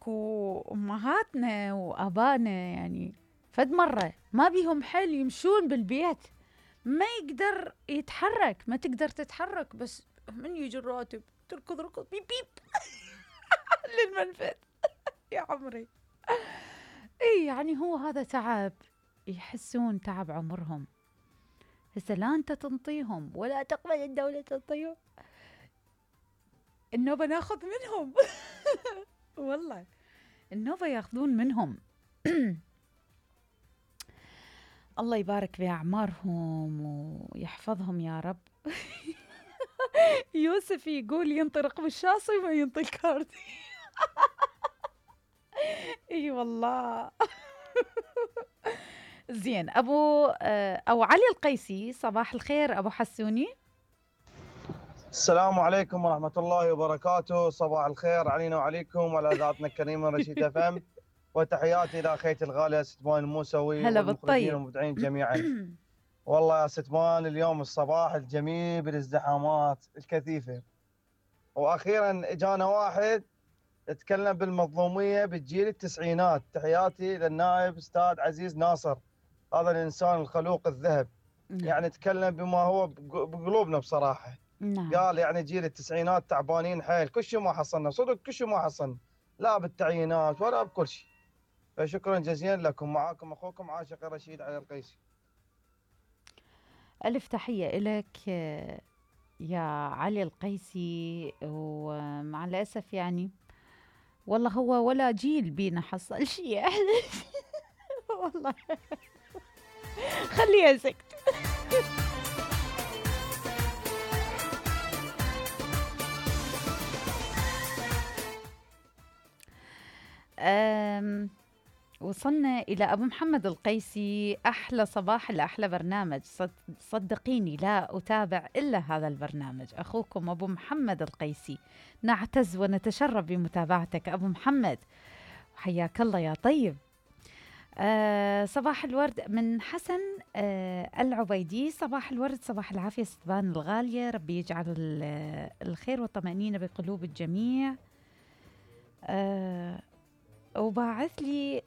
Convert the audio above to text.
وأمهاتنا وآبائنا يعني فد مرة ما بيهم حيل يمشون بالبيت، ما يقدر يتحرك، ما تقدر تتحرك، بس من يجي الراتب تركض ركض بيب بيب للمنفذ يا عمري. اي يعني هو هذا تعب، يحسون تعب عمرهم. هسه لا انت تنطيهم ولا تقبل الدولة تنطيهم، النوبة ناخذ منهم والله النوبة ياخذون منهم الله يبارك بأعمارهم ويحفظهم يا رب. يوسف يقول ينطرق بالشاصي وما ينطي الكاردي. اي والله. زين أو علي القيسي، صباح الخير أبو حسوني. السلام عليكم ورحمة الله وبركاته، صباح الخير علينا وعليكم وعلى ذاتنا الكريمة رشيد FM، وتحياتي إلى أخيتي الغالية ستمان الموسوي والمخرجين والمبدعين جميعا. والله يا ستمان اليوم الصباح الجميل بالازدحامات الكثيفة، وأخيرا إجانا واحد يتكلم بالمظلومية بالجيل التسعينات. تحياتي للنائب أستاذ عزيز ناصر، هذا الإنسان الخلوق الذهب. يعني تكلم بما هو بقلوبنا بصراحة. قال يعني جيل التسعينات تعبانين حيل، كل شيء ما حصلنا، صدق كل شيء ما حصلنا، لا بالتعيينات ولا بكل شيء. فشكرا جزيلا لكم، معاكم أخوكم عاشق رشيد علي القيسي. ألف تحية لك يا علي القيسي. ومع الأسف يعني والله هو ولا جيل بينا حصل شيء والله خليها سكت. وصلنا إلى أبو محمد القيسي. أحلى صباح لأحلى برنامج، صدقيني لا أتابع إلا هذا البرنامج. أخوكم أبو محمد القيسي، نعتز ونتشرف بمتابعتك أبو محمد، حياك الله يا طيب. صباح الورد من حسن العبيدي. صباح الورد، صباح العافية ستبان الغالية، ربي يجعل الخير والطمأنينة بقلوب الجميع. وباعث لي